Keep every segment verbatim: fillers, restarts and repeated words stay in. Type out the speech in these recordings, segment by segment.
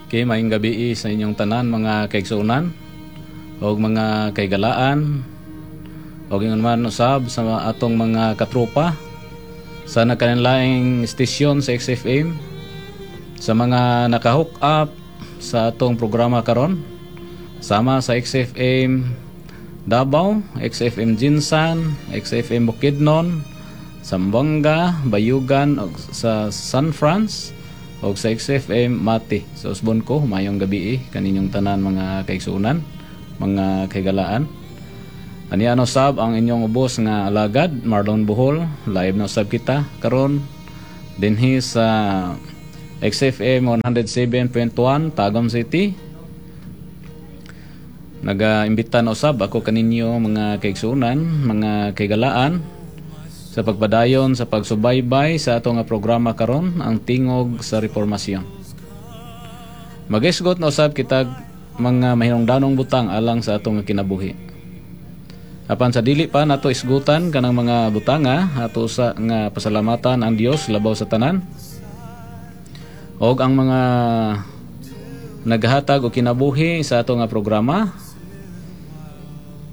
Okay, maayong gabii sa inyong tanan, mga kaigsuonan ug mga kahigalaan, ug ingon man usab sa atong mga katropa sa nagkalainlaing istasyon sa X F M, sa mga naka-hook up sa atong programa karon sama sa X F M Davao, X F M GenSan, X F M Bukidnon, Zamboanga, Bayugan ug sa San Franz ug sa X F M Mati. So usbon ko, maayong gabii kaninyong tanan, mga kaigsuonan, mga kahigalaan. Ania no sab ang inyong ubos nga alagad, Marlon Bohol. Live na usab kita karon dinhi sa X F M one oh seven point one Tagum City. Nagaimbita na usab ako kaninyo, mga kaigsuonan, mga kahigalaan, sa pagpadayon sa pagsubaybay sa ato nga programa karon, ang Tingog sa Reformasyon. Magisgot na usab kita mga mahinungdanong butang alang sa atong kinabuhi. Apan sa dili pa nato isgutan kanang mga butanga, ato sa nga pasalamatan ang Dios labaw sa tanan. Og ang mga naghatag og kinabuhi sa ato nga programa,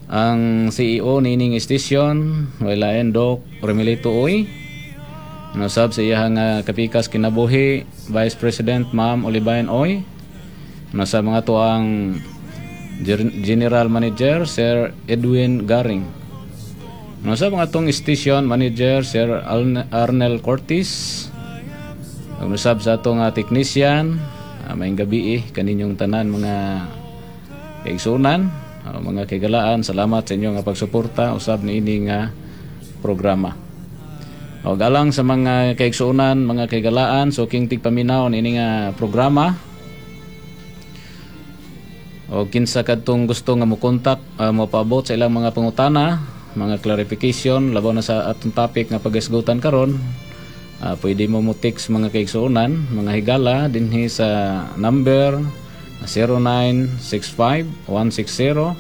ang C E O niining istasyon, wala Doc Remilito Uy. Nasab sa iya nga kapikas kinabuhi, Vice President Ma'am Olivain Oy. Nasa mga to ang General Manager Sir Edwin Garing. Nasa mga tong Station Manager Sir Arnel Cortez. Ang usab sa atong uh, technician, uh, maayong gabii kaninyong tanan, mga kaigsuonan, uh, mga kahigalaan, salamat sa inyong pagsuporta usab niini nga programa. O galang sa mga kaigsuonan, mga kahigalaan, suking tigpaminaw niini nga programa. O kinsa kadtong gusto nga mo kontak, uh, mopaabot sa ilang mga pangutana, mga clarification labaw na sa atong topic nga pagisgutan karon, uh, pwede mo mo text, mga kaigsuonan, mga higala, dinhi sa number zero nine six five, one six zero,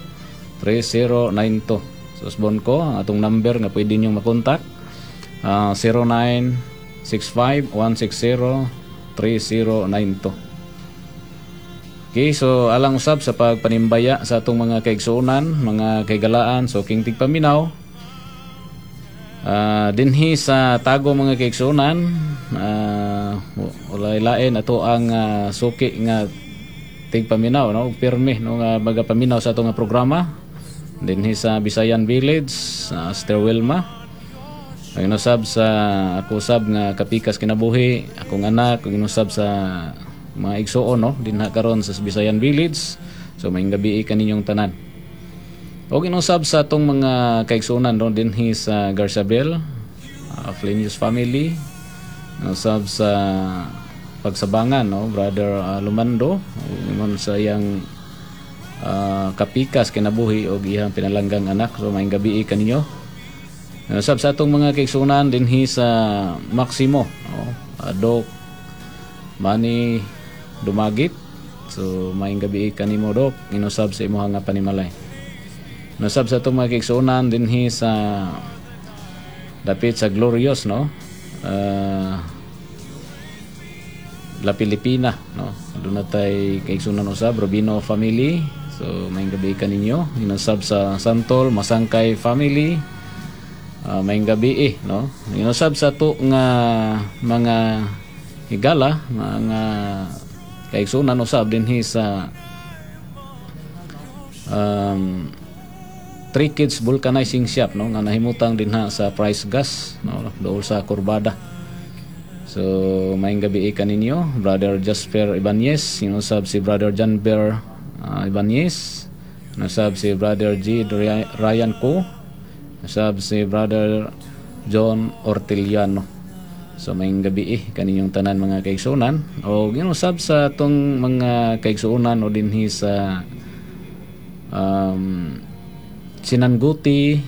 three zero nine two. So usbon ko ang atong number nga pwede niyo makontak, uh, zero nine six five, one six zero, three zero nine two. Okay, so alang usab sa pagpanimbaya sa atong mga kaigsuonan, mga kahigalaan, suking tigpaminaw, uh, dinhi sa Tagum, mga kaigsuonan, uh, walay lain ato ang uh, suki nga tigpaminaw, no, pirmi no nga magapaminaw sa atong nga programa dinhi sa Bisayan Village, uh, Sister Wilma. Ang inusab sa ako usab nga kapikas kinabuhi, akong anak, ang inusab sa mga igsuon, no, dinha karon sa Bisayan Village. So maayong gabii kaninyong tanan. Og inusab sa atong mga kaigsuonan, no, dinhi sa Garciabel, uh, Flenius family, usab sa Pagsabangan, no, Brother uh, Lumando, ingon sa iyang uh, kapikas kinabuhi og iyang pinalanggang anak. So maayong gabii kaninyo. Usab sa atong mga kaigsuonan dinhi sa Maximo, no, uh, Doc Manny Dumagit. So maayong gabii kanimo, Dok, inusab sa imuha nga panimalay. Inusab sa atong mga kaigsuonan dinhi sa dapit sa Glorious, no? Uh, La Pilipina, no? Doon na tay kaigsuonan usab, Robino family. So maayong gabii kaninyo. Inusab sa Santol, Masangkay family. Uh, maayong gabii, no? Inusab sa to nga mga higala, mga kaigsuonan usab dinhi sa um, Three Kids Vulcanizing Shop, no, nga nahimutang dinha sa Price Gas, no, dool sa Kurbada. So maayong gabii kaninyo, Brother Jasper Ibanez, inusab si Brother John Bear uh, Ibanez, inusab si Brother G. Ryan Co, inusab si Brother John Orteliano. So maayong gabii kaninyong tanan, mga kaigsuonan, o ginusab sa atong mga kaigsuonan o dinhi sa um, Sinanguti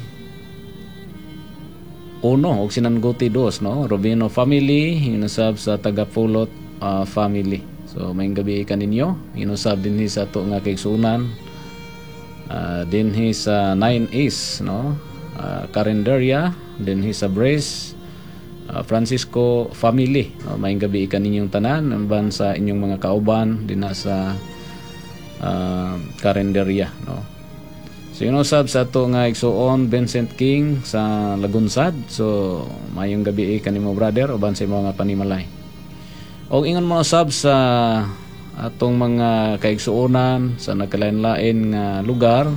uno o Sinanguti dos, no, Robino family, inusab sa Tagapulot uh, family. So maayong gabii kaninyo. Inusab dinhi sa ato nga kaigsuonan uh, dinhi sa nine East, no, uh, Carinderia dinhi sa Brace. ah, Francisco family, no? Maayong gabii kaninyong tanan uban sa inyong mga kauban dinha sa uh, karinderya, no? So ingon usab sa ato nga igsuon Vincent King sa Lagunsad. So maayong gabii kanimo, brother, uban sa imong mga panimalay. Og ingon man usab sa atong mga kaigsuonan sa nagkalain-lain nga lugar,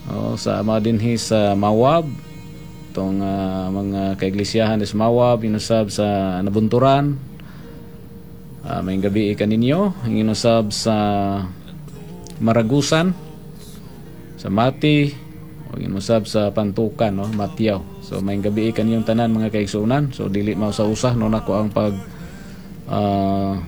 o, sa ama dinhi sa Mawab, itong ah, mga kaiglisyahan sa Mawab, inusab sa Nabunturan. Uh, maayong gabii kaninyo, inusab sa Maragusan, sa Mati, o inusab sa Pantukan, no, Matiyaw. So maayong gabii kaninyong tanan, mga kaigsuonan. So dili mausa-usa no nako ang pag ah,